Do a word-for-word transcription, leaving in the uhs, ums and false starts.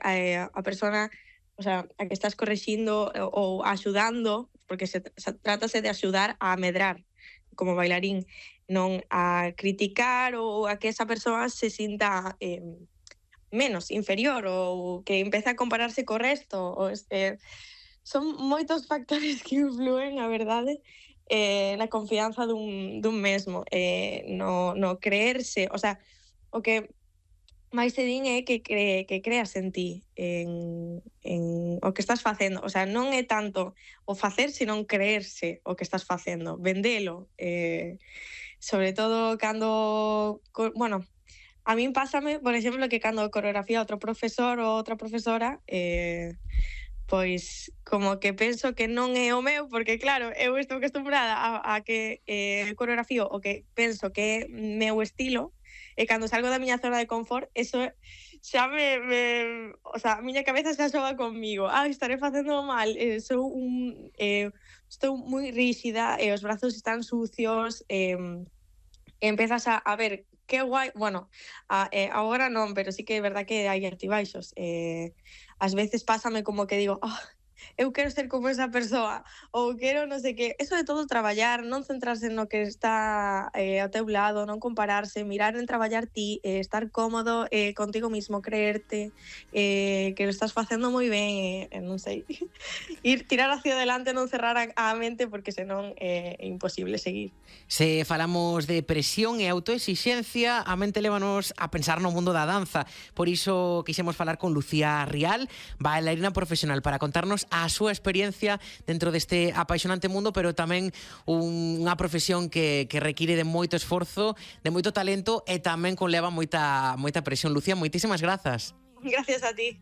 eh, a persona, o sea, a que estás corrixindo ou axudando, porque se, se trátase de axudar a medrar como bailarín, non a criticar ou a que esa persoa se sinta eh, menos, inferior, ou que empece a compararse co resto. Ou este, son moitos factores que influen, a verdade, eh, na confianza dun, dun mesmo, eh, no, no creerse, o sea, o que máis te din é que, cre, que creas en ti, en, en o que estás facendo. O sea, non é tanto o facer, senón creerse o que estás facendo, vendelo. Eh, sobre todo cando, bueno, a min pásame, por exemplo, que cando coreografía outro profesor ou outra profesora, eh, pois como que penso que non é o meu, porque claro, eu estou acostumbrada a, a que eh, coreografío o que penso que é meu estilo, e cando salgo da miña zona de confort, eso xa me, me o sea, a miña cabeza xa xoga conmigo. Ah, estaré facendo mal, eh, sou un eh, estou moi ríxida e os brazos están sucios, eh, e empezas a, a ver que guai, bueno, a, eh, agora non, pero sí que é verdad que hai altibaixos. Eh, ás veces pásame como que digo, oh, eu quero ser como esa persoa, ou quero non sei que. Eso de todo traballar, non centrarse no que está eh, ao teu lado, non compararse, mirar en traballar ti, eh, estar cómodo eh, contigo mismo, creerte eh, que lo estás facendo moi ben, eh, non sei, ir tirar hacia adelante, non cerrar a, a mente, porque senón eh, é imposible seguir. Se falamos de presión e autoexixencia, a mente lévanos a pensar no mundo da danza. Por iso quixemos falar con Lucía Rial, bailarina profesional, para contarnos a súa experiencia dentro deste apaixonante mundo, pero tamén unha profesión que, que require de moito esforzo, de moito talento e tamén conleva moita, moita presión. Lucía, moitísimas grazas. Gracias a ti.